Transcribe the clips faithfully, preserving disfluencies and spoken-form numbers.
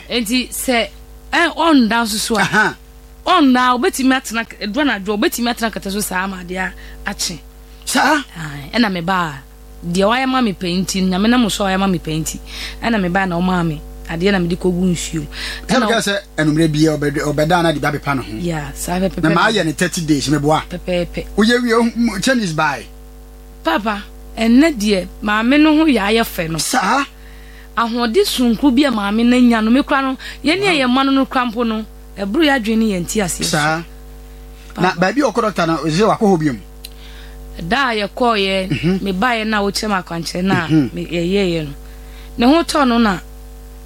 Hwɛ. Enti sɛ ɛ ɔnda nso so a, ɔnda, obetumi atena edura na adwo, obetumi atena kɛtɛ so saa ama adeɛ akye. Saa. Ɛna me ba deɛ wayɛ ma me pɛ nti, Nyame na mo so wayɛ ma me pɛ nti, ɛna me ba na ɔmaa me adeɛ na me de kɔgu nsuo. Ɛna ka sɛ enumere bia ɔbɛda na de ba bepa no ho. Yeah, saa pɛpɛpɛ. Na ma ayɛ ne thirty days me boa. Pɛpɛpɛ. Woyɛ wie Chinese buy. Papa, ɛnɛ deɛ maame no ho yɛ ayɛ fɛ no. Saa. Ahode sonko bi a maame na nya no me kura no, yɛne yɛ ma no no kura mpo no, ɛboro yɛ adwene ne yɛn ti aseɛ. Saa. Na baabi ɔkɔ doctor na ɔse wakɔ hɔ biom. Da yɛ kɔ yɛ me ba yɛ na wo kyerɛ makwankyerɛ na me yɛ yɛ no. Ne ho tɔ no na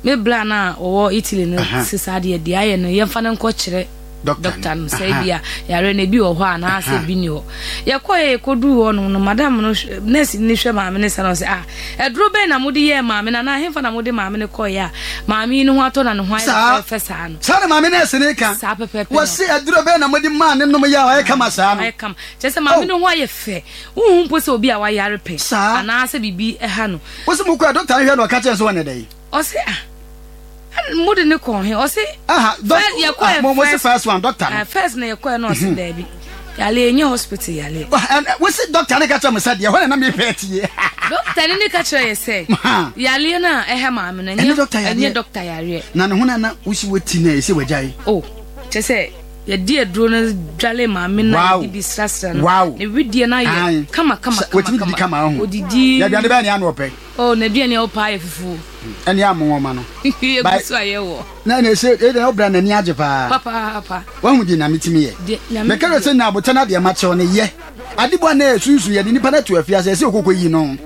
me bra na ɔwɔ Italy no sisa de de ayɛ no yɛmfa no nkɔ kyerɛ doctor no sɛ bia yare na bi wɔ hɔ a na sɛ bi ni hɔ. Yɛkɔ yɛ yɛkɔdu hɔ no no madam no nurse ni hwɛ maame ne sa no sɛ ah eduro bɛn na mode yɛ maame na na hemfa na mode maame ne kɔ yɛ a maame no ho atɔ na ne ho ayɛ fɛ saa no. Saa na maame nurse ne ka. Saa pɛpɛpɛ. Wɔse eduro bɛn na mode maa ne nom yɛ a ɔyɛ kama saa no. Ayɛ kama. Kyerɛ sɛ maame no ho ayɛ fɛ. Wohu mpo sɛ obi a wayare pɛ. Anaa sɛ bibi ɛha no. Wɔse mo kɔ doctor hwɛ no ɔka kyerɛ sɛ wɔne dɛn. Ɔse ah mode ne kɔ he ɔse aha doctor mo mo first one doctor no first na yɛkɔ no ɔse daabi yale enye hospital yale wo se doctor ne ka kyerɛ mo sɛ deɛ hɔ na na me pɛ tie doctor ne ne ka kyerɛ yɛ sɛ yale na ɛhɛ maame no enye doctor yare na ne ho na na wo si wati na ɛsɛ wagyae oh kyerɛ sɛ yɛdi aduro no dwale maame na yɛdi bi srasra no ne widie na yɛ kama kama kama kama odidi yɛaduane bɛɛ ne ano ɔpɛ. Oh, na aduane a ɔpɛ ayɛ fufuo. Ɛne amonwoma no. Yɛgu so ayɛ wɔ. Na na ɛsɛ ɛdɛ ɔbra n'ani agye paa. Papa papa. Wahu di na metumi yɛ. Meka sɛ na abotɛ na deɛ makyɛw ne yɛ. Adebɔ na ɛsunsun yɛde nipa na to afiase ɛsɛ okoko yi no.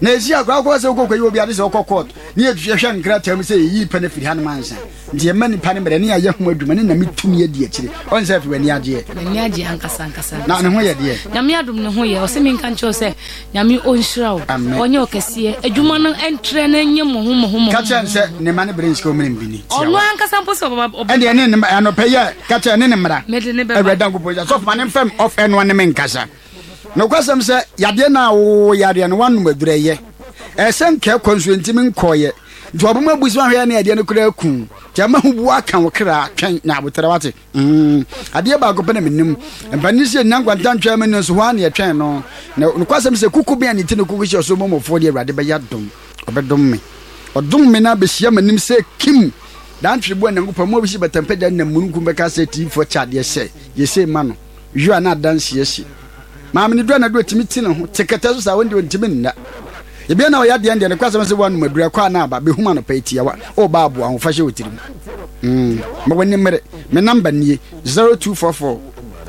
Na ɛsi akora akɔ sɛ okoko yi obi ade sɛ ɔkɔ court. Ne yɛhwɛ nkrataa mu sɛ yɛyi pɛ no firi ha no mansa. Nti yɛma nipa no mmerɛ ne yɛayɛ ho adwuma ne na metumi adi akyire. Ɔn sɛ afi w'ani agyeɛ. N'ani agye ankasa ankasa. Na ne ho yɛ deɛ. Nyame adom ne ho yɛ. Ɔsɛ menka nkyerɛ sɛ Nyame ɔnhyira wo. Ɔnyɛ ɔkɛseɛ. Adwuma no ɛntrɛ na ɛnyɛ mmɔho mmɔho mmɔho. Ka kyerɛ no sɛ ne ma ne bere nsika ɔmene mbini. Ɔno ankasa mpo sɛ ɔbɛba ɔbɛba. Ɛndeɛ ne ne anɔpɛ yɛ ka kyerɛ ne ne mmara. Mede ne bɛba. Awurade Nyankopɔn sɛ sɔfo ma ne mfam ɔf ɛnoa ne me nkasa. Nokwasɛm sɛ yadeɛ no a wowɔ yadeɛ no woanom aduru ɛyɛ. Ɛsɛ nka ɛkɔ nso ntimi nkɔɔyɛ. Nti ɔbɛma abusu ahwɛ ne adeɛ no koraa ku. Nti ɛma ho bu aka wo kra twɛn na abotrɛ wate. Mm. Adeɛ baako pɛ na menim. Mpanin sɛ nnya nkwanta ntwɛn me no nso hɔ a na yɛtwɛn no. Na nokwasɛm sɛ kuku bɛn a ne ti no kuku hyɛ ɔsoro mmɔmmɔfoɔ deɛ Awurade bɛyɛ adom. Ɔbɛdom me. Ɔdom me na abɛhyia m'anim sɛ kim. Dantwere bu a Nyankopɔn mu a wosi bɛtɛmpɛgya nam mununkum bɛka sɛ tiifoɔ kyɛ adeɛ sɛ yɛsei ma no. Yɔ a na adanseɛ si. Maame ne dura na dura tumi ti ne ho te kɛtɛ so saa wɔn deɛ ɔntumi nna. Ebia na ɔyɛ adeɛ deɛ ne kwasɛm sɛ wɔanom aduru akɔ a na aba bɛhum anɔpa yi tiawa ɔba aboa ho fa hyɛ wɔ tirim. Mm. Ma w'ani mmere. Me namba nie zero two four four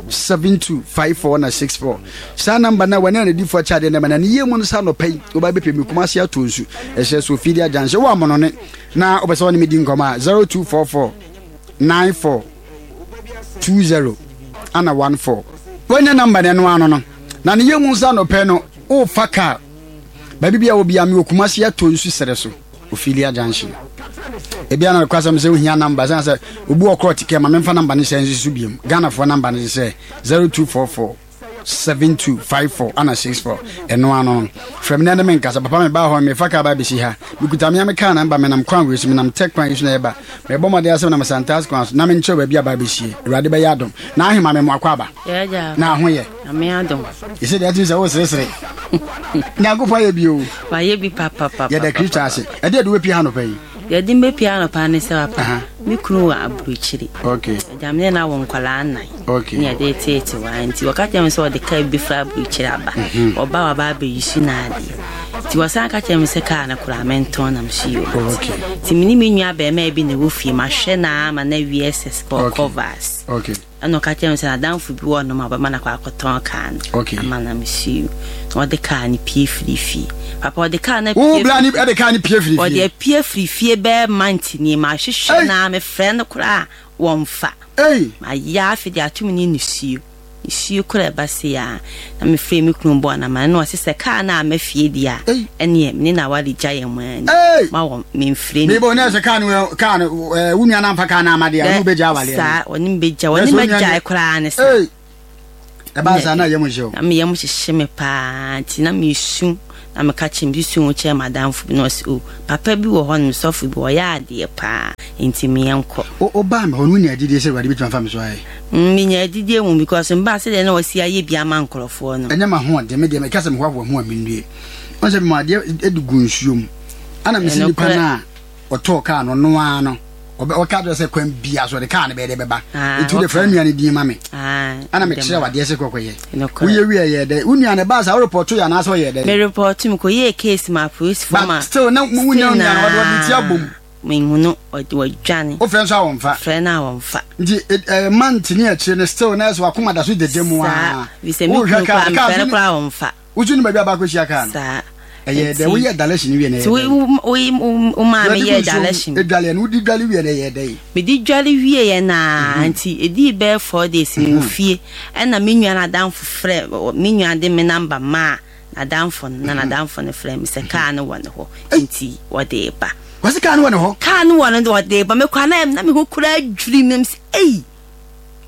seven two five four na six four. Saa namba na wɔne anadifoɔ akyɛ adeɛ na ma na ne yie mu no sa anɔpa yi wɔba bɛpɛ me Kumase ato nsu ɛhyɛ so ofidi agyanhyɛ wɔ amonone na wopɛ sɛ wɔne me di nkɔmmɔ a zero two four four nine four two zero ana one four. Wɔnyɛ namba no ɛno ano no na ne yie mu nsa anɔpa yi no wofa kaa baabi bia wɔ bia me wɔ Kumase ato nsu serɛ so Ophelia Junction. Ebia na kwasɛm sɛ wohia namba sɛ sɛ obi wɔ korɔ tikɛ ma memfa namba no hyɛ nso so biom. Ghanafoɔ namba no sɛ zero two four four seven two five four ana six four. Ɛno ano no frɛ me na ne me nkasa. Papa me baa hɔ mefa kaa ba bɛsi ha. Mekuta me a me kaa namba menam kwan wei so menam tech kwan yi so na ɛba. Mebɔ mmɔden asɛm nam Santas kwan so na menkyerɛ baabi a ba bɛsie. Awurade bɛyɛ adom. Na ahema me mmoakɔ aba. Na ho yɛ. Ame adom. Ɛsɛ deɛ atumi sɛ woseresere. Nyankopɔn ayɛ bi o. Wayɛ bi papapapa. Yɛda Kristo ase. Ɛdeɛ de wobɛpia anɔpa yi? Yɛde mbɛpia anɔpa ne sɛ papa. Me kunu wɔ aburokyiri. Okay. Agya me ne na wɔ nkwadaa nnan. Okay. Ne yɛde teete wa nti wɔka kyerɛ me sɛ ɔde kaa bi fra aburokyiri aba. Ɔba waba abɛyi su na adeɛ. Nti wɔsan ka kyerɛ me sɛ kaa no koraa mentɔn nam so yi o. Okay. Nti me ne me nua bɛrima bi na ɛwɔ fie mahwɛ na ama na wie S S Okay. covers. Okay. Ɛna ɔka kyerɛ me sɛ n'adamfo bi wɔ nom a ɔbɛma no akɔ akɔtɔn kaa no. Okay. Ama na mesuo. Na ɔde kaa no pie firi fie. Papa ɔde kaa no Wo pie bla ni ɛde kaa no pie firi fie. Ɔde apue firi fie bɛɛ month ni ma ahwehwɛ na mefrɛ no koraa wɔmfa. Ei. Ma yɛ afe de atum ne nisuo. Nisuo koraa ɛba se ya. Na mefrɛ me kunu bɔɔ na ma no ɔse sɛ kaa no ama fie deɛ a. Ɛneɛ me ne na aware gya yɛn mu ani. Ma wɔ memfrɛ ni. Mebo na sɛ kaa no kaa no wo nua na amfa kaa no ama deɛ ɔne wobɛgya awale. Saa ɔne mbɛgya ɔne mɛgya koraa ne saa. Ɛbaa saa na yɛm hyɛ o. Na me yɛm hyehye me paa nti na mesu Na meka kyerɛ me susu ho kyerɛ madamfo bi na ɔse o papa bi wɔ hɔ nom sɔfo bi ɔyɛ adeɛ paa nti meɛnkɔ. Wobaa me hɔ no wonya adidie sɛ Awurade bɛtumi afa me so ayɛ? Menya adidie mu because mbaa sɛdeɛ na wɔsi ayɛ bi ama nkurɔfoɔ no. Ɛnyɛ m'ahoɔden, me deɛ meka sɛ mehoahoa ho a mennue. Ɔn sɛ mema adeɛ de gu nsuo mu ana mesi nipa no a ɔtɔɔ kaa no ɔno ara no ɔka kyerɛ sɛ kwan bia so ɔde kaa no bɛyɛ dɛ bɛba nti wode fra nua no din ma me ana mekyerɛ wadeɛ sɛ kɔkɔyɛ woyɛ wie yɛ dɛ wo nua no ɛbaa saa worepɔto yɛ anaasɛ ɔyɛ dɛ merepɔto me kɔyɛɛ case ma apolisifoɔ ma but still na wonya nua no ɔde ɔde ti abom mehu no ɔde wadwane wofrɛ nso a wɔmfa frɛ no a wɔmfa nti ɛɛ month ne akyire no still na ɛsɛ wakoma da so dede mu a wohwɛ kaa kaa no koraa wɔmfa wosu no baabi a baakɔ hyia kaa no saa ɛyɛ dɛ woyɛ dalɛhyin wie na ɛyɛ dɛ wo maa me yɛ dalɛhyin edwale no wodi dwale wie na ɛyɛ dɛ medi dwale wie yɛ naa nti edi bɛyɛ four days mi wɔ fie ɛna me nua n'adamfo frɛ me nua de me number maa n'adamfo no na n'adamfo no frɛ me sɛ kaa no wɔ ne hɔ nti wɔde ba wɔsi kaa no wɔ ne hɔ kaa no wɔ ne wɔde ba mekɔ na na me ho kura adwiri me sɛ eyi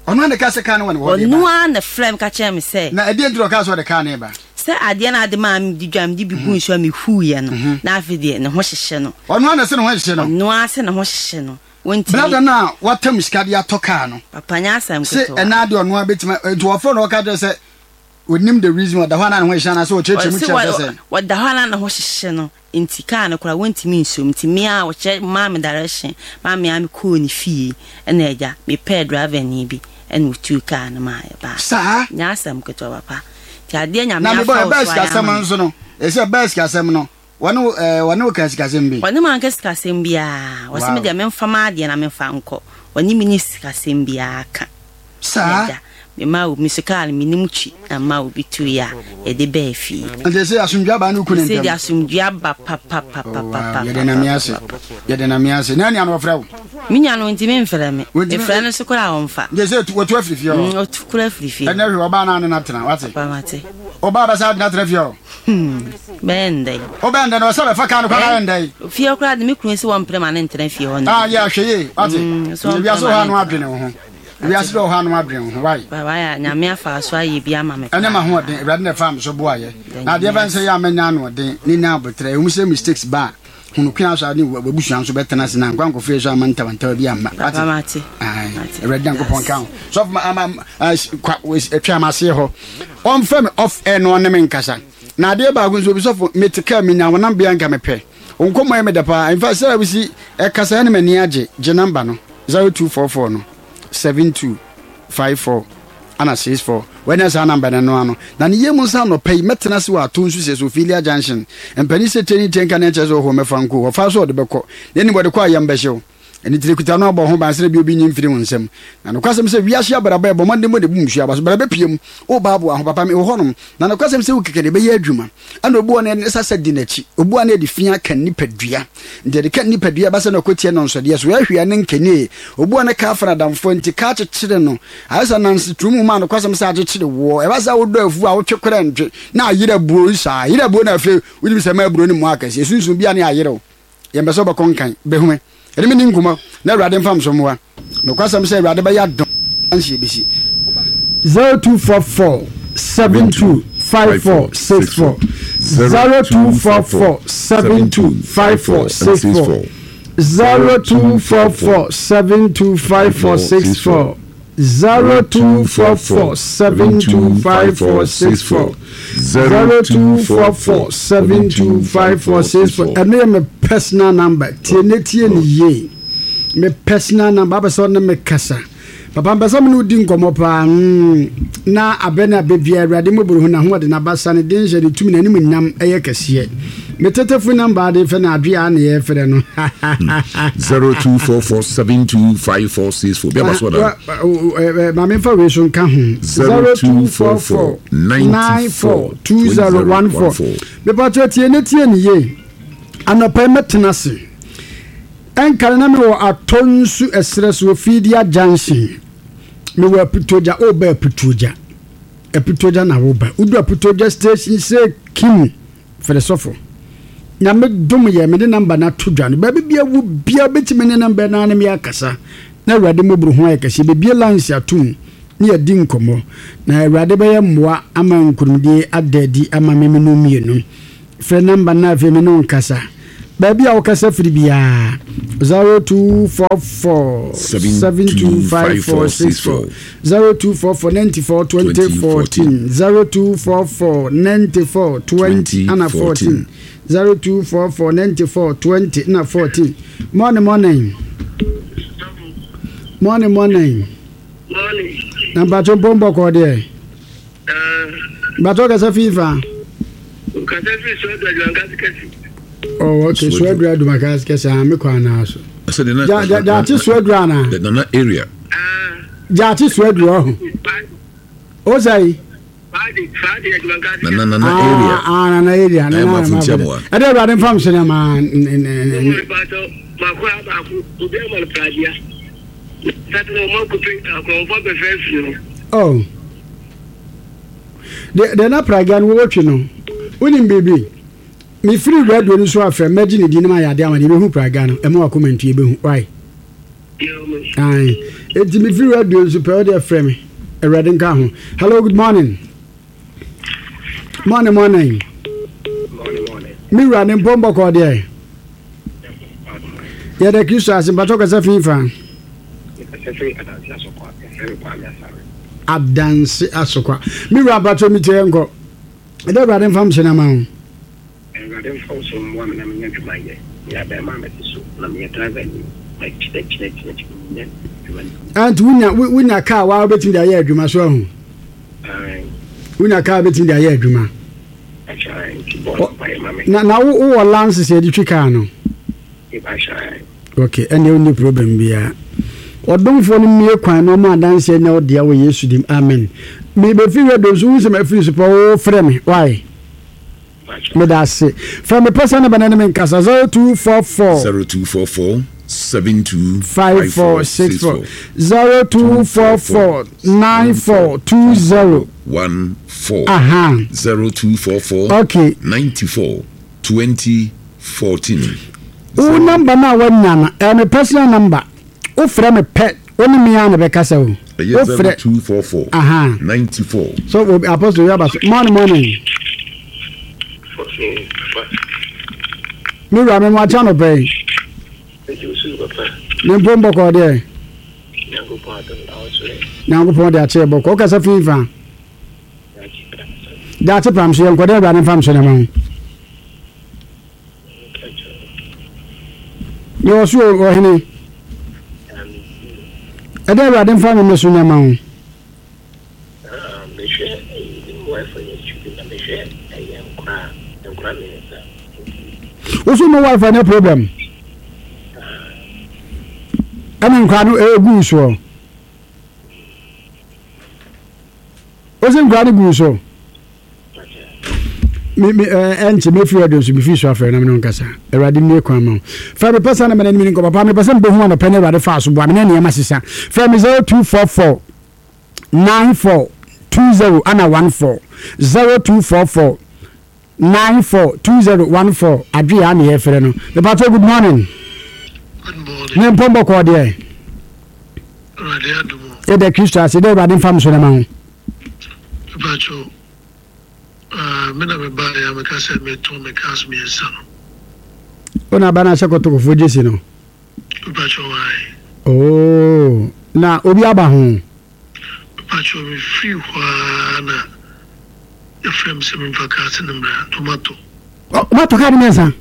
ɔno ana ka sɛ kaa no wɔ ne hɔ ɔno ara na frɛ me ka kyerɛ me sɛ na ɛdeɛ nti na ɔkaa sɛ ɔde kaa no ba sɛ adeɛ no ade maa me di dwa me de bi gu nsuo a mehuiɛ no na afei deɛ ne ho hyehyɛ no ɔno ara na sɛ ne ho hyehyɛ no ɔno ara sɛ ne ho hyehyɛ no wɔntumi brada no a watam sika de atɔ kaa no papa nyɛ asɛm sɛ ketewa ɛna adeɛ ɔno ara bɛtumi nti wɔfrɛ no ɔka kyerɛ sɛ onim the reason ɔda hɔ ana ne ho hyehyɛ anaasɛ ɔkyerɛkyerɛ mu kyerɛ sɛ sɛ wɔda hɔ ana ne ho hyehyɛ no nti kaa no koraa wɔntumi nsom nti me a wɔkyerɛ maa me direction maa me a mekɔɔ ne fie ɛna agya mepɛɛ driver ni bi ɛna otuu kaa no maa yɛbaa saa nyɛ asɛm ketewa papa nti adeɛ nyame na mebɔ afa wo ɛbɛɛ so ayɛ sikasɛm ama me nso no ɛsɛ ɛbɛɛ sikasɛm no wɔne wo ɛɛ wɔne wo ka sikasɛm bi ɔne ma nka sikasɛm biara wɔsɛ Wow. me deɛ memfa m'adeɛ na memfa nkɔ ɔne me ne sikasɛm biara ka saa agya mema obi so kaa no menim twi na ma obi tuiɛ a yɛde bɛɛ fie nti sɛ asomdwe aba ne woku ne sɛ de ntɛm asomdwe aba Oh, wow. Yɛde Nyame ase yɛde Nyame ase na nua no wɔfrɛ wo me nua no ntimi mfrɛ me Wɔntimi- mefrɛ no so koraa a ɔmfa nti sɛ wɔtu afiri fie Mm, hɔ ɔtu kora afiri fie ɛnɛ hwɛ ɔbaa no ane no atena wate papa mate ɔbaa bɛsɛ ade no atena fie hɔ bɛyɛ ndɛn wobɛn dɛ no ɔsɛ bɛfa kaa no kora ayɛ ndɛn fie koraa de me kunu sɛ wɔmprɛ ma ne ntena fie hɔ no ah yɛ ahwɛ yie wate Mm, so wiase ɔmpɛ wɔ hɔ ma ano ne adwene wo ho wiase dɛ wɔ hɔ ano adwene wo ho wae Baba yɛ nyame afa so ayɛ bi ama me ɛne ma hoɔden Awurade na ɛfa me so boayɛ na adeɛ bɛn sɛ yɛ a mɛnya anoɔden ne nya abotrɛ ɛwom sɛ mistakes ba a hunu kwan so a ne wabusua nso bɛtena ase na nkwa nkɔfrɛ so ama ntawantawa bi amma papa wate mate Aye. Mate. Awurade Nyankopɔn ka ho sɔfo ma ama atwa ama aseɛ hɔ ɔmfrɛ me off air na ɔne me nkasa na adeɛ baako nso obi sɔfo mete kaa menya wo namba nka mepɛ wo nkɔmmɔ yɛ meda paa in fact sɛ wosi ɛkasa ɛne m'ani agye gye number no zero two four four no seven two five four ana six four wɔanya saa number no no ano na ne yɛ mu nsa anɔpa yi mɛtena se wɔ ato nso sɛ Sophilia Junction mpani sɛ tɛni tɛnka ne ɛkyɛ sɛ ɔhɔ mɛfa nko wɔfa so ɔde bɛkɔ na anim wɔde kɔ a yɛm bɛhyew ɛne tiri kuta no abɔ ho ban sɛ bi obi nyi mfiri wo nsɛm na nokwasɛm sɛ wiase abrabɔ ɛbɔ mmɔden bɔ ne bu nsuo aba so brabɛ pie mu woba aboa ho papa me wɔ hɔnom na nokwasɛm sɛ wo kɛkɛ de bɛyɛ adwuma ɛna obi wɔ no ne sasa di n'akyi obi wɔ no de fia ka nipadua nti ɛde ka nipadua ba sɛ na ɔkɔtie no nsɔdeɛ so ɛhwea ne nkanie obi wɔ no ka afa nadamfoɔ nti ka akyekyere no ayɛ sɛ nanse turum mu a nokwasɛm sɛ akyekyere woɔ ɛba sɛ wodɔ afu a wotwe korɛ ntwe na ayerɛ abuo saa ayerɛ abuo na afei wonim sɛ ma aburo no mu akɛseɛ sunsun bia ne ayerɛw yɛmpɛ sɛ wobɛkɔ nkan bɛhume ɛne me ni nkɔmmɔ na Awurade mfa mso mmoa nokwasɛm sɛ Awurade bɛyɛ adɔm anhyɛ bɛsi zero two four four seven two five four six four, zero two four four seven two five four six four, zero two four four seven two five four six four, zero two four four seven two five four six four, zero two four four seven two five four six four. Ɛno yɛ me personal number. Tie ne tie ne yie, me personal number apɛ sɛ ɔne me kasa papa mpɛ sɛ me ne wodi nkɔmmɔ paa mm, na abɛ ne abɛ bia Awurade mmɔboro hu n'ahoɔden n'abasa ne den hyɛ ne tumi n'anim nyam ɛyɛ kɛseɛ. Me tetefo number ade fɛ na adwe a ne yɛfrɛ no zero two four four seven two five four six four. Bí a bá sọ da. Maame nfa wei so nka ho zero two four four nine four two zero one four. Mepatɔ tie ne tie ne yie anɔpa yi mɛtena ase ɛnkane na mewɔ atɔ nsu ɛserɛ so Ofidia Junction mewɔ Aputogya woba Aputogya Aputogya na woba wodu Aputogya station sɛ kim fɛrɛ sɔfo Nyame dom yɛ mede number no ato dwa no baabi bia wo bia bɛtumi ne number no ne me akasa na Awurade mmɔboro ho ayɛ kɛseɛ bɛbie lines atom ne yɛdi nkɔmmɔ na Awurade bɛyɛ mmoa ama nkonimdie ada adi ama me menu mmienu. Frɛ number no afei me ne wo nkasa. Baabi a wokasa firi biara zero two four four seven two five four six four zero two four four ninety four twenty fourteen zero two four four ninety four twenty ana fourteen zero two four four ninety four twenty na fourteen. Morning, morning, morning, morning. Morning. Na mpatso mpɔmpɔ kɔɔ deɛ. Mpatso kasa fifa. Kasa fi so adwuma kɛse. Oh, okay. So adwuma adwuma kɛse a me kɔ anaa so. Ja ja ja ati so adwuma ana. The Nana area. Ja ati so adwuma ho. O sai. Nana Nana area. Ah, Nana area. Nana Nana. Ade awurade mfam so na ma. Oh. De de na pragia no wo twe no. Wonim bibi. Me free radio no so afre magye ne di no ma yade amane be hu pragia no. E ma comment e be hu. Why? Ai. Enti me free radio so pe o de frɛ me. Awurade nka ho. Hello, good morning. Morning, morning. Morning, morning. Me wura ne mpombo ko de. Ya de Kristo ase mpato kasa fifa. Adanse asokwa. Me wura mpato mi tie nko. E de awurade mfam se na ma ho. Awurade mfam so mwa me na me nya dwuma ye. Ya be ma me so na me driver ni. Ma chine chine chine chine. Anti wunya wunya car wa obetimi da ye adwuma so ahu. Wunya car obetimi da ye adwuma. Na na wo wo lance se di twi car no. Okay, any only problem bia. Odomfo no mie kwan no ma adanse nya wo dia wo Yesu dim. Amen. Me be fi redo so wu se ma free so wo frɛ me. Why? Me da se. Frɛ me person na ne me nkasa zero two four four zero two four four seven two five four six four zero two four four nine four two zero one four. Aha. zero two four four Okay. ninety four twenty fourteen. O number na wanya na eh me personal number. O frɛ me pɛ o ni me ana be kasa o. O frɛ two four four. Aha. ninety four. So apostle you abas. Morning, morning. Me ra me mo acha no pɛ. Ne mpombo ko de. Nyankopɔn de ache bɔkɔ. O kasa fifa. Da ate pam so yenko de ba ne fam so na ma. Ni osu o hene. E de ba de fam me so na ma. Ah, me hwe wife ni chubi na me hwe e nkra nkra me sa. Osu no wife na problem. Ana nkra no e gu so. Osu nkra no gu so. Me me enche me free audience me free so afre na me no nkasa awurade me kwan ma fa me pesa na me na me nko papa me pesa me hu na pɛ na awurade fa so boa me na ne ma sisa fa me zero two four four nine four two zero ana one four zero two four four nine four two zero one four adwe ya na ye frɛ no me pato. Good morning. Good morning. Ne mpombo ko de awurade adumo e de Kristo ase de awurade mfam so na ma ho pacho. Ah, me na me ba ya me ka se me to me ka me nsa no. Ona ba na se kotokofo jesi no. Pacho wai. Oh, na obi aba ho. Pacho me free hwa na your frame se me fa ka se na tomato. Oh, tomato ka ni nsa.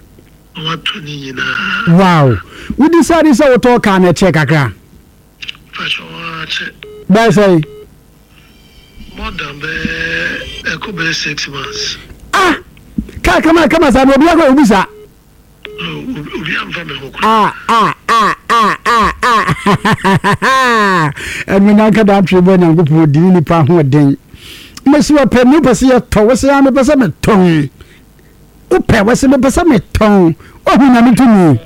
Tomato ni nyina. Wow. We decide say we talk na check akra. Pacho wa che. Bye say. More than be be six months. Ah, ka kama kama sa obi akọ obi sa. Obi amfa me ho. Ah ah ah ah ah ah. Emi na ka da twe bo Nyankopɔn di ni pa ho den. Mesi wo pɛ me pɛ se ye tɔ wo se ya me pɛ se me tɔn. Wo pɛ wo se me pɛ se me tɔn. O hu na me tumi.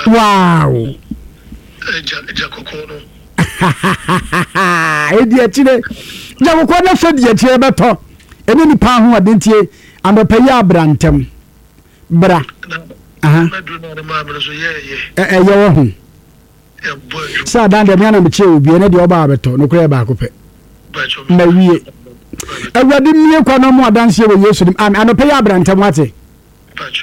Wow. Eh ja kokko no. E di akire. Ja kokko na so di akire beto. Eni ni pa ho adentie andopa yi abrantem. Bra. Aha. Eh eh ye wo ho. Sa dan de me na me che obi ene de oba abeto no kura ba akopɛ. Ma wie. Awurade mmie kwa na ɔmo adanseɛ wɔ Yesu dim. Amen. Anɔpɛ yɛ abrantɛm wate.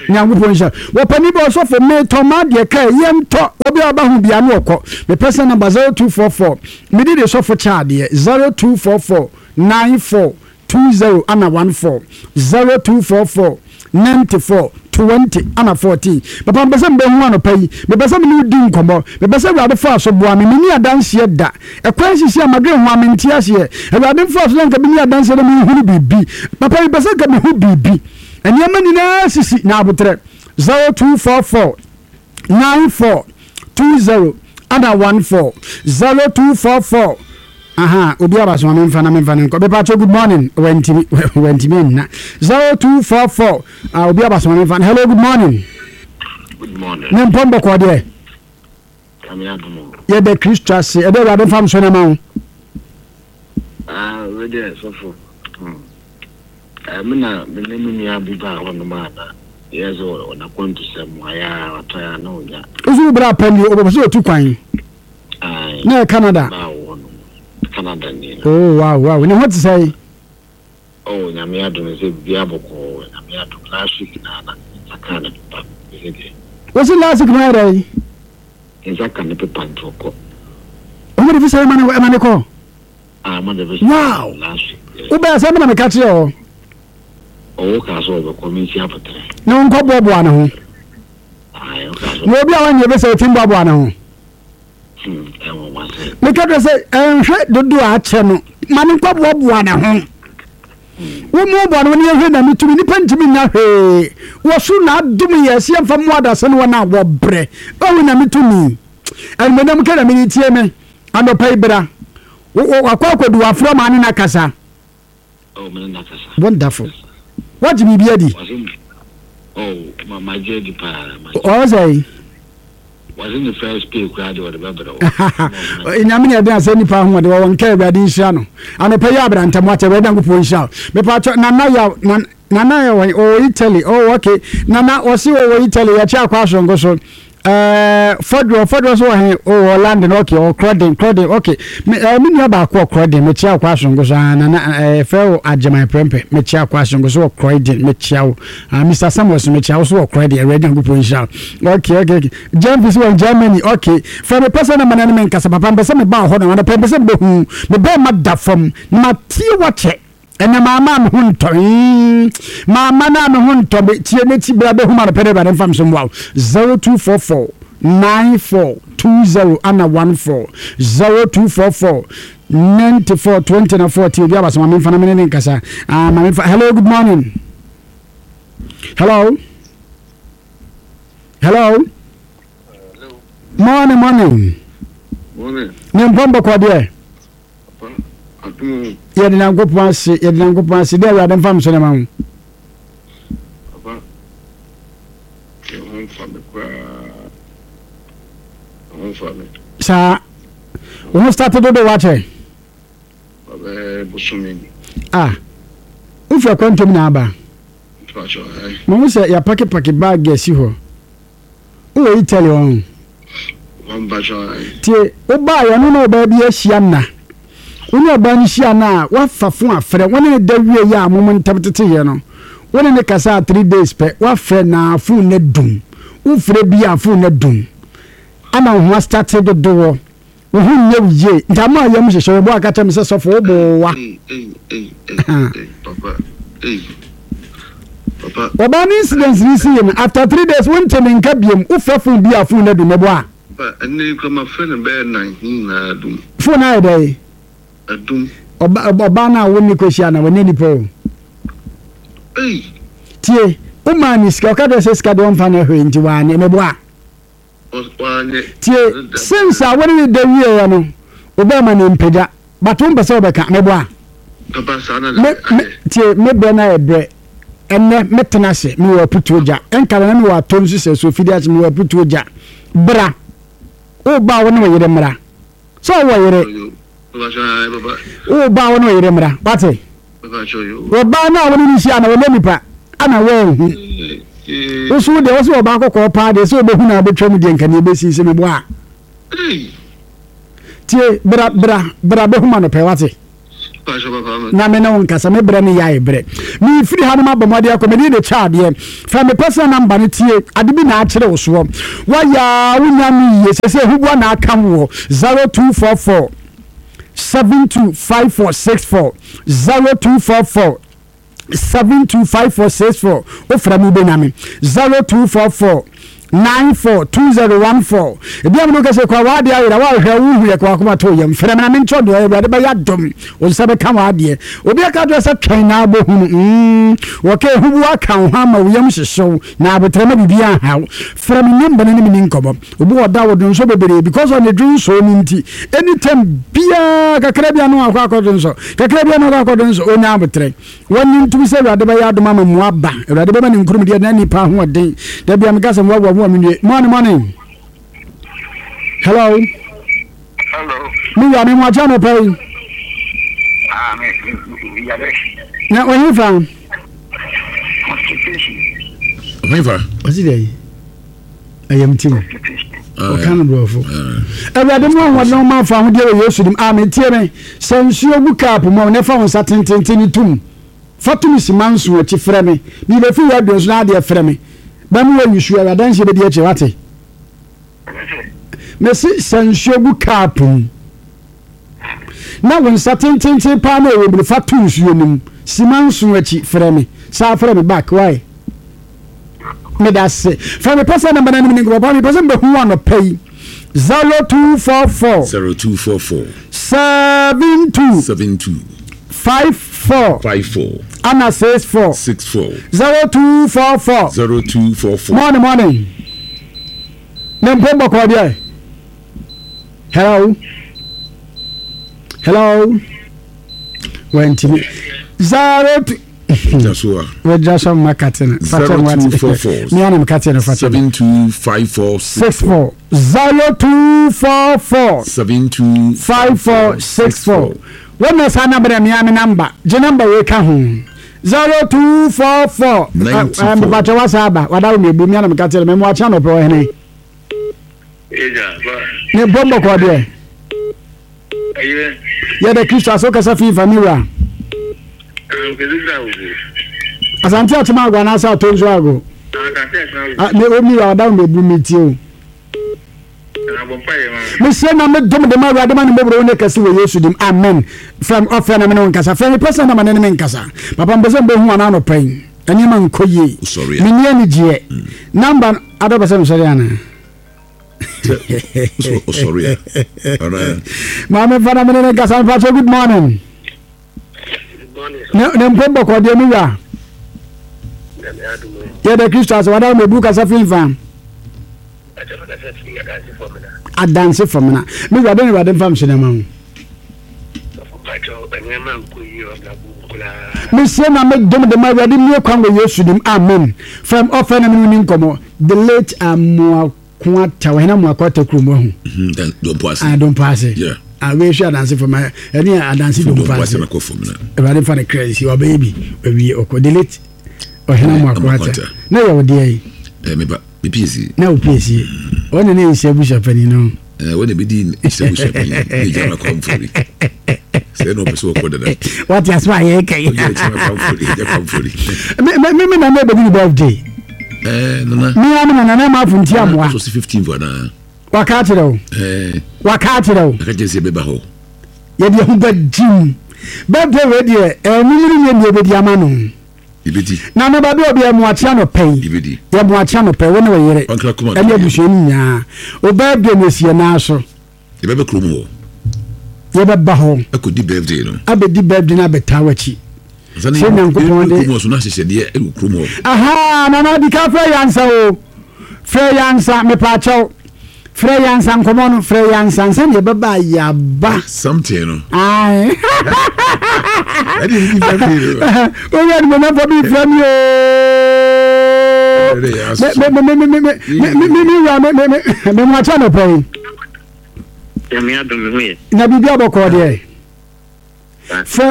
Nyankopɔn nhyira. Wɔpani bɛ ɔsɔfo metɔ ma adeɛ ka yɛntɔ obi a ɔba ho bia ne ɔkɔ. Me personal number zero two four four. Mede de sɔfo kyɛ adeɛ zero two four four nine four two zero ana one four zero two four four ninety four twenty ana fourteen. Papa mpɛ sɛ mbɛhu anɔpa yi. Mepɛ sɛ mene wo di nkɔmmɔ. Mepɛ sɛ Awurade fa so boa me. Menni adanseɛ da. Ɛkwan sisi a madwene ho a mente aseɛ. Awurade mfa so na nka menni adanseɛ na menhunu biribi. Papa mepɛ sɛ nka mehu biribi. Nneɛma nyinaa sisi na abotrɛ zero two four four nine four two zero ana one four zero two four four. Aha, obi aba so ma memfa na memfa ne nkɔ. Mepa good morning. Wantimi wantimi anna zero two four four. Ah, obi aba so ma memfa. Hello, good morning. Good morning. Ne mpɔm bɔkɔ deɛ. Yɛda Kristo ase. Ɛdɛ Awurade mfa mso ne ma wo. Ah, we deɛ sɔfo. Hmm. Eh, me na me ne me nua bi baa hɔnom a na yɛ sɛ ɔnakwantu sɛm ayɛ a watɔ a na ɔnya. Wosi wo bra pɛ ni ɔbɛpɛ sɛ ɔtu kwan. Aye. Na yɛ Canada. Baa wɔ hɔnom. Canada ni no. Oh, wow, wow. Ne ho te sɛ? Oh, Nyame adom sɛ biribiara bɔkɔɔ. Nyame adom last week na na nsa kaa ne pepa. Sɛ deɛ. Wosi last week na yɛ dɛ? Nsa ka ne pepa nti ɔkɔ. Ɔmo de visa ɛma ne ɛma ne kɔ. Ah, mo de visa. Wow. Last week. Yeah. Wobɛyɛ sɛ mena meka kyerɛ hɔ. Ɔwɔ kaa sɛ ɔbɛkɔ me nsi abotrɛ. Na wonkɔ boaboa ne ho. Aye, ɔkaa sɛ. Na obi a wanyɛ bɛsɛ ɔtim boaboa ne ho. Hmm, ɛwɔ wa sɛ. Meka kyerɛ sɛ ɛnhwɛ dodo a akyɛ no ma ne nkɔ boaboa ne ho. Wo mu bɔ no ne yɛhwɛ na metumi nipa ntumi nya hwee. Wɔ so na adom yɛ sɛ yɛmfa mmoa adasa ne wɔn a wɔbrɛ. Ɔhu na metumi. Ɛnumonyam ka na mede tie me. Anɔpa yi bra. Wakɔ akɔdu wafrɛ ma ne na kasa. Oh, me ne na kasa. Wonderful. Wagye biribi adi? Oh, ma ma gye adi paa. Ɔwɔ sɛ Wɔse ne first pay koraa deɛ ɔde bɛbrɛ wo. Nyame ne ɛden asɛ nipa ahoɔden wɔwɔ nka Awurade nhyira no. Anɔpa yi abrantam wakyɛ Awurade Nyankopɔn nhyira wo. Mepa Nana yaw Nana yɛ wɔn ɔwɔ Italy. Oh, okay. Nana ɔse ɔwɔ Italy yɛkyɛ akɔ asonko so. Eh, Fɔdwo Fɔdwo so wɔ he? Oh, wɔ London. Okay, ɔwɔ Croydon, Croydon. Okay. Me eh me nua baako wɔ Croydon. Mekyia akɔ asonko so. Ah, Nana eh frɛ wo Agyeman Prempeh. Mekyia akɔ asonko so wɔ Croydon. Mekyia wo. Ah, Mister Samuel so mekyia wo so wɔ Croydon. Awurade Nyankopɔn nhyira wo. Okay, okay, okay. Jamfi so wɔ Germany. Okay. Frɛ me pɛ sɛ na mana ne me nkasa papa mpɛ sɛ meba hɔ na mpɛ sɛ mebehu. Me bɛɛ ma da fam. Na matie wakyɛ. Ɛnɛ maama me ho ntɔ. Maama na me ho ntɔ me tie me ti bra bɛhu ma no pɛ dɛ Awurade mfa me so mmoa wo. zero two four four nine four two zero ana one four zero two four four ninety four twenty na fourteen obi aba so ma memfa na mene ne nkasa. Ah, ma memfa. Hello, good morning. Hello. Hello. Hello. Morning, morning. Morning. Ne mpɔm bɔkɔ deɛ. Adum. Yɛde Nyankopɔn ase, yɛde Nyankopɔn ase. Deɛ Awurade mfa me so ne ma wo. Papa. Yɛ ho mfa me koraa. Ho mfa me. Saa. Wo ho start dodo wakyɛ. Ɔbɛyɛ bosome ni. Ah. Wofi akwantom na aba. Mpakyɛ ayi. Mahu sɛ yɛapakepake bag asi hɔ. Wowɔ Italy hɔ. Mpakyɛ ayi. Tie, wobaeɛ no na ɔbaa bi ahyia nna. Wo ne ɔbaa no hyia no a, woafa fo afrɛ. Wo ne ne da wie yɛ a mom ntam teteyɛ no. Wo ne ne kasa a three days pɛ, woafrɛ na phone no dum. Wofrɛ bi a phone no dum. Ama wo ho astate dodoɔ. Wo ho nyɛ wo yie. Nti ama yam hyehyɛ wo bo aka kyerɛ me sɛ sɔfo wo bo wa. Ei ei ei ei ei papa ei papa. Ɔbaa no incident ni si yɛ no after three days wonte ne nka biem. Wofrɛ phone bi a phone no dum meboa. Papa ɛnɛ yi kura ma frɛ no bɛyɛ nan ne nyinaa dum. Phone ayɛ dɛ. Adum. Ɔba ɔbaa no a wo ne kɔhyia na wɔnyɛ nipa o. Ei. Tie, wo maa ne sika ɔka kyerɛ sɛ sika deɛ ɔmfa no hwee nti wanyɛ meboa. Wanyɛ. Tie, since a wo ne ne da wieɛ no wobɛma ne mpagya but wompɛ sɛ wobɛka meboa. Papa saa na Me me tie me brɛ na yɛ brɛ ɛnɛ metena ase mewɔ aputuo gya ɛnka na mewɔ atɔ nso sɛ so fidi ase mewɔ aputuo gya bra woba wo ne wo yere mmra sɛ ɔwɔ yere woba wo ne wo yere mmra wate wɔbaa no a wo ne no hyia na wɔnyɛ nipa ana wɔanhu wo so deɛ wo sɛ wɔbaa kɔkɔɔ paa deɛ sɛ wobɛhu na wobɛtwa mu deɛ nka neɛ ɛbɛsi sɛ meboa a tie bra bra bra bɛhu ma no pɛ wate. Na me ne wo nkasa, me brɛ ne yɛ brɛ. Me firi ha no ma bɔ mmɔden akɔ, mede de kyɛ adeɛ. Fa me personal number no tie, ade bi na akyerɛ wo soɔ. Wayɛ wonya no yie, sɛ sɛ hubua na aka wo zero two four four seven two five four six four zero two four four seven two five four six four. Ofra mi benya me zero two four four nine four two zero one four. Ebi amu kese kwa wadi ayira wa hwe wo hu ye kwa akoma to yem. Frɛ me na me nkyɛ do Awurade bɛyɛ adom. Wo nsa bɛka wa adeɛ. Obi aka do sɛ twɛn na abohunu. Mm. Wɔka ehubu aka wo ho ama wo yam hyehyew na abotrɛ ma bibi anhaw. Frɛ me number no ne me ni nkɔmmɔ. Obi wɔ da wo do nso bebree because on the dream so ni nti. Anytime bia kakra bia no akɔ akɔdo nso. Kakra bia no akɔ akɔdo nso onya abotrɛ. Wɔn ntumi sɛ Awurade bɛyɛ adom ama mu aba. Awurade bɛma ne nkurum deɛ na nipa ahoɔden. Da bia meka sɛ wawa mu aminue. Morning, morning. Hello. Hello. Me wura me mu akyɛ no pɛ yi. Ah, me me yare. Na ohin fa. Constipation. Ohin fa. Ɔsi dɛ yi. Ɛyɛ mti mu. Ɔka no borɔfo. Awurade mu ahoɔden ɔma afa ahodeɛ wɔ Yesu dim. Amen. Tie me. Sɛ nsuo gu cup mu a, na fa wo nsa tententen ne tum. Fa tum si manso akyi frɛ me. Mebɛfi wɔ aduon so na adeɛ frɛ me. Bɛmo wɔ yusu awurade nhyɛ bɛdi akyire wate. Mesi sɛ nsuo gu cup mu. Na wo nsa tententen paa na ɛwɔ mu no fa to nsuo no mu. Si manso akyi frɛ me. Saa frɛ me back why? Meda se. Fa me pɛsɛ namba na ne nkɔmɔ pa me pɛsɛ mbɛhu wa no pɛ yi. zero two four four zero two four four seven two seven two five four five four ana six four six four zero two four four zero two four four. Morning, morning. Ne mpombo kɔ deɛ. Hello. Hello. Wɛntimi. Zero two. Wɛgyina so ma kate no. Zero two four four. Mi anam kate no fakyɛ. Seven two five four six four. Zero two four four. Seven two five four six four. Wɔn na saa namba na mi ame namba. Gye namba wei ka ho. Zero two four four. Ninety four. Mbakyɛ wasa aba. Wada wo mebu mi anam kate no. Mɛ mu akyɛ anɔpɛ wɔ hene. Ne bɔmbɔ kɔ deɛ. Yɛda Kristo ase wokasa fi fa mi wura. Asante akyem ago anaasɛ atɔ nso ago. Ne omi wura ɔda wo mebu mi tie o. Mehyɛ na medom de ma Awurade ma ne mmɔborɔ ne kɛse wɔ Yesu dim. Amen. Frɛ me ɔfrɛ na me ne wo nkasa. Frɛ me pɛ sɛ na ma ne ne me nkasa. Papa mpɛ sɛ mbɛhu ana anɔpa yi. Nneɛma nkɔ yie. Menni anigyeɛ. Namba adɔ pɛ sɛ mesɔre anaa? Maame fa na me ne ne nkasa. Mfa kyɛ good morning. Ne mpom bɔkɔ deɛ me wura. Yɛda Kristo ase wada mebu kasa fi mfa. Adanse fam na me wura de ne wura de mfa mhyɛ ma ho. Mesie na medom de ma Awurade mmie kwan wɔ Yesu dim. Amen. Fam ɔfɛ na me ne nkɔmmɔ. The late Amoakoata ɔhene Amoakoata kurom ahu. Dompo ase. Ah, Dompo ase. Yeah. Ah, wei hwɛ adanse fam ɛne adanse Dompo ase. Awurade mfa ne kra nsi wabɛyɛ bi wawie ɔkɔ. The late ɔhene Amoakoata. Na yɛ wo deɛ yi. Eh, me ba. Me P C. Na wo P C. Ɔne ne nhyɛ abusuapanin no. Eh, wɔne bɛdi nhyɛ abusuapanin ne gya ma kwamfori. Sɛ na ɔpɛ sɛ wɔkɔ dada. Wate aso a yɛreka yi. Ɔgya kyerɛ kwamfori, gya kwamfori. Me me me na na ɛbɛdi ne birthday. Eh, nana. Me ya me nana na ma afunti amoa. So si fifteen for na. Waka akyerɛ wo. Eh. Waka akyerɛ wo. Aka kyerɛ sɛ bɛba hɔ. Yɛde ho bɛgyim. Birthday wei deɛ, eh, mumunu nyɛ deɛ ɛbɛdi ama no. Ibedi. Na no ba bi obi emu akyia no pɛi. Ibedi. Ye mu akyia no pɛi wo ne wo yere. Ɛne abusua ni nyinaa. O birthday no sie na so. Ye bɛbɛ krom hɔ. Ye bɛba hɔ. Akɔdi birthday no. Abɛdi birthday no abɛta w'akyi. Sɛ Nyankopɔn de. Kurom hɔ so na ahyehyɛdeɛ ɛwɔ kurom hɔ. Aha, nana di ka frɛ yansa o. Frɛ yansa mepaakyɛw. Frɛ yansa nkɔmɔ no, frɛ yansa nsa ne yɛbɛba yaba. Something no. Aye. Ɛde ni birthday no. Owura ni mo na fa bi frɛ mi o. Me me me me me me me me me wura me me me me mo akyɛ no pɛ yi. Nyame adom me ho yɛ. Na biribi abɔkɔ deɛ. Frɛ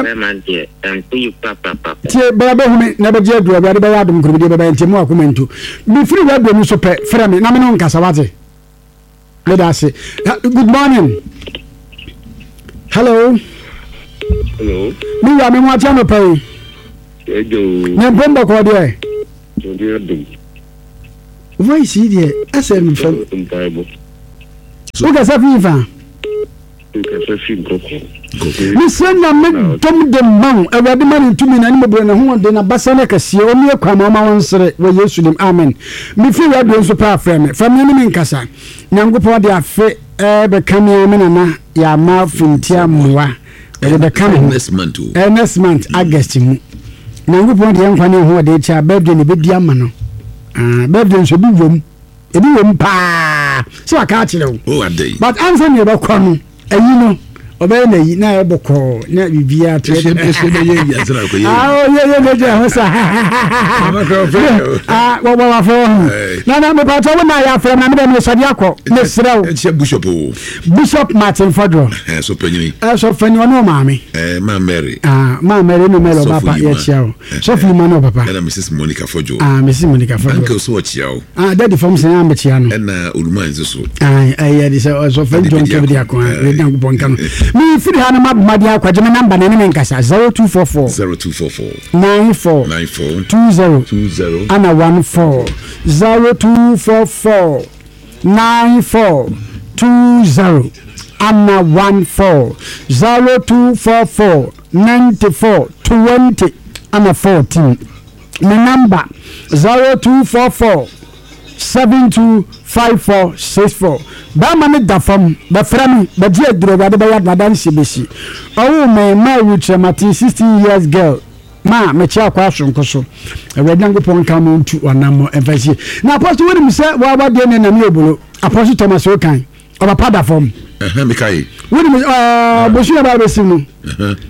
tie bɛrɛ bɛhu me na bɛgye aduru Awurade bɛyɛ adom nkurumdeɛ bɛbɛyɛ nti mu akoma ntu. Mefiri radio no so pɛ frɛ me na me ne wo nkasa wate. Meda ase. Good morning. Hello. Hello. Me wura me ho akyɛ no pɛ yi. Ɛjɔ. Ne mpom bɔkɔ deɛ. Ɔde adum. Voice yi deɛ ɛsɛ mfam. Mpaebɔ. Wokasa fi fa. Nkasa fi nkɔkɔ. Mesrɛ Nyame dom de ma wo. Awurade ma ne ntumi na ne mmɔborɔ ne hoɔden na basa ne kɛseɛ ɔmmue kwan ma ɔma wo nsere wɔ Yesu dim amen. Mefiri radio nso paa frɛ me fa me ne me nkasa. Nyankopɔn de afe ɛbɛka me a me nana yɛama fintia mmoa ɔde bɛka me ho Next month o. Eh, next month August mu. Nyankopɔn de yɛn nkwa ne ahoɔden kyɛ a birthday na ɛbɛdi ama no. Ah, birthday nso ebi wom ebi wom paa sɛ waka akyerɛ wo. O adɛn. But ansa na yɛbɛkɔ no ayi no ɔbɛyɛ n'ayi na ayɛ bɔkɔɔ na biribiara to Ɛhyɛ ɛhyɛ bɛyɛ yi ansa na akɔyɛ yi. Ah, oh, yɛ yɛ n'agya ho sa. Mama kora ɔfrɛ yɛ o. Ah, wɔbɔ wafrɛ wɔ ho. Ɛɛ. Na na mepatɔ wo na yɛ afrɛ na mede mesɔde akɔ. Mesrɛ wo. Ɛkyɛ bishop o. Bishop Martin Fodro. Ɛɛ so panyin. Ɛsɔ fani ɔne ɔmaame. Ɛɛ maa Mary. Ah, maa Mary ne Mary Sɔfo ɔba pa Yima. yɛkyia wo. Sɔfo Yima ne ɔpapa. Ɛna Mrs Monica Fodjo. Ah, Mrs Monica Fodro. Uncle so ɔkyia wo. Ah, daddy fam sɛ yɛn no. Ɛna Oluman nso so. Ɛyɛ de sɛ ɔsɔfo John Kevin Ako a ɛdi Nyankopɔn nka no. Mefiri ha no maboma de akɔgye me namba na ne me nkasa zero two four four Zero two four four nine four nine four two zero two zero ana one four zero two four four nine four two zero ana one four zero two four four ninety four twenty ana fourteen. Me number zero two four four seven two five four six four. Bɛrima ne da fam bɛfrɛ me bɛgye aduro Awurade bɛyɛ adanse bɛsi. Ɔwoo me maa wukyerɛmate sixteen years girl ma mekyɛ akɔ asonko so. Awurade Nyankopɔn nka mo ntu ɔnam ɛmfa sie. Na Apostle wonim sɛ wawadeɛ ne nam yɛ obolo. Apostle Thomas Okan ɔbapa da fam. Ɛhɛn meka yi. Wonim ɛɛ bosu yɛ ba bɛsi no.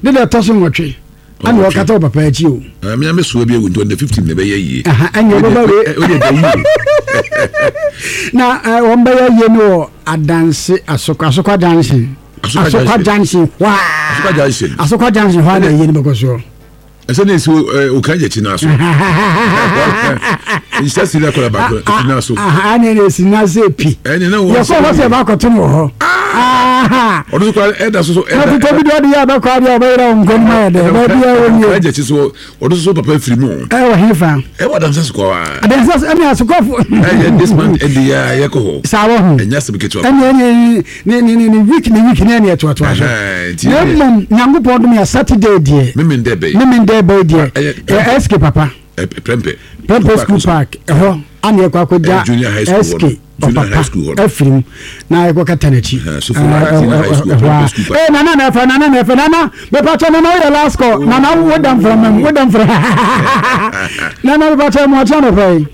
Ne deɛ ɛtɔ so nwɔtwe. Ana ɔkata wɔ papa akyi o. Ɛɛ mi ame soa bi ewu nti on the fifteen na ɛbɛyɛ yie. Aha, ɛnyɛ ɔbɛba wei. O de da yie. Na ɛɛ wɔn bɛyɛ yie no wɔ adanse asokwa asokwa junction. Asokwa Asokwa junction hwaa. Asokwa junction. Asokwa junction hwaa na yie no bɛkɔ soɔ. Ɛsɛ ne esi okan yɛ akyi naa so. Nhyɛ si na kɔla baako akyi naa so. Aha ɛna ɛna esi naa so epi. Ɛna na wɔn. Yɛkɔ hɔ sɛ ɛbɛ akɔto no wɔ hɔ. Ɔno so kora ɛda so so ɛda. Na tuntun bi de ɔde yɛ abɛkɔ adeɛ ɔbɛyerɛ wɔn nkɔn mu ayɛ dɛ ɛbɛ bi ayɛ nie. Ɔkan yɛ akyi so ɔno so papa firi mu. Ɛwɔ he fa. Ɛwɔ adansi asokɔ wa. Adansi asokɔ ɛni asokɔfo. Ɛyɛ this month ɛdi yɛ yɛ kɔ hɔ. Saa wɔ ho. Ɛnyɛ asɛm ketewa. Ɛni ɛni ne ne ne ne week ne week ne ɛni ɛtoatoa so. Na mmom Nyankopɔn dom yɛ Saturday deɛ. Mímí ndɛ bɛyi. Mímí ndɛ bɛyi deɛ. Ɛ S K papa. Prempeh. Prempeh school park ɛhɔ ana ɛkɔ akɔgya S K ɔpapa afiri mu na ɛkɔ kata n'akyi. Ɛhɔ a ee nana na ɛfɛ nana na ɛfɛ nana mepatɔ nana woyɛ last call nana wo da nfra mɛm wo da nfra nana mepatɔ mu ɔkyɛn nɔpɛ yi.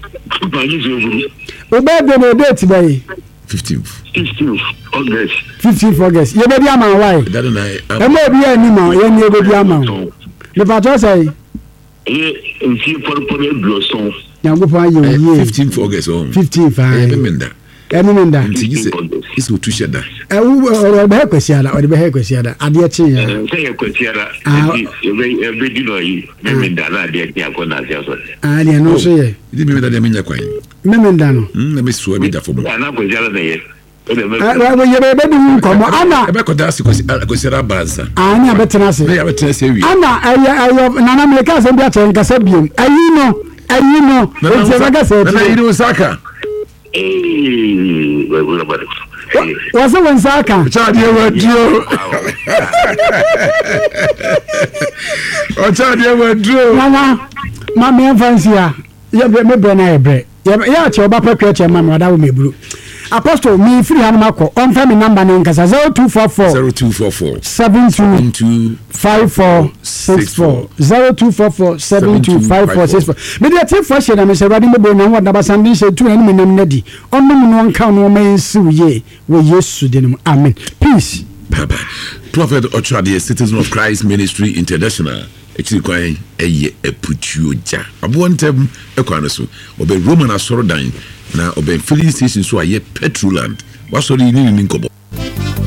O bɛɛ de na o date bɛyi. Fifteenth. Fifteenth August. Fifteenth August yɛbɛdi ama wa yi. Ɛmɛ obi yɛ anim a yɛn ni yɛbɛdi ama o mepatɔ sɛ yi. Ɛyɛ mfie pɔrepɔre aduɔson. Nyankopɔn ayɛ wo yie. Fifteenth August ɔn. Fifteenth ayi. Ɛyɛ memenda. Ɛyɛ memenda. Nti yi sɛ yi sɛ otu hyɛ da. Ɛwu ɔde bɛhɛ kwasiada ɔde bɛhɛ kwasiada adeɛ kye ya. Sɛ yɛ kwasiada nti yɛbɛ yɛbɛ di no ayi memenda na adeɛ kye akɔ na ase asɔre. Aa deɛ no nso yɛ. Ɛdi memenda deɛ menya kwan. Memenda no. Na me soa bi da fam. Ana kwasiada na yɛ. Yɛbɛdi ho nkɔmmɔ ana ɛbɛkɔda ase kwasiada aba ansa. Aa ne abɛtena ase. Ne abɛtena ase awie. Ana ɛyɛ ɛyɛ nana meka asɛm bi akyerɛ nkasa biom ayi no ayi no eti ɛbɛka sɛ ɛti. Nana yi ni wo nsa aka. Wɔsɛ wo nsa aka. Ɔkyɛ adeɛ wɔ aduro. Ɔkyɛ adeɛ wɔ aduro. Nana ma mɛnfa nsi ha yɛ me brɛ na yɛ brɛ yɛ akyɛ ɔba pɛ kura kyɛ ma mi ɔda wo mɛ buru. Apostle mi firi ha no ma kɔ ɔnfɛ mi namba ne nkasa zero two four four zero two four four seven two five four six four zero two four four seven two five four six four. Mi de ɛti fɔ hyɛ na mi sɛ ɛwurade mo bo na wɔn dabasa ndi nhyɛ tu na ɛni mi nam na di ɔnum no ɔnka no ɔma yɛn siw yie wɔ Yesu din mu amen peace. Papa Prophet Ochoadeɛ Citizen of Christ Ministry International akyiri kwan ɛyɛ aputuo gya aboɔ ntɛm ɛkwan no so ɔbɛn Roman asɔredan na ɔbɛn filling station so a yɛ Petroland wasɔre yi ne ne ni nkɔbɔ.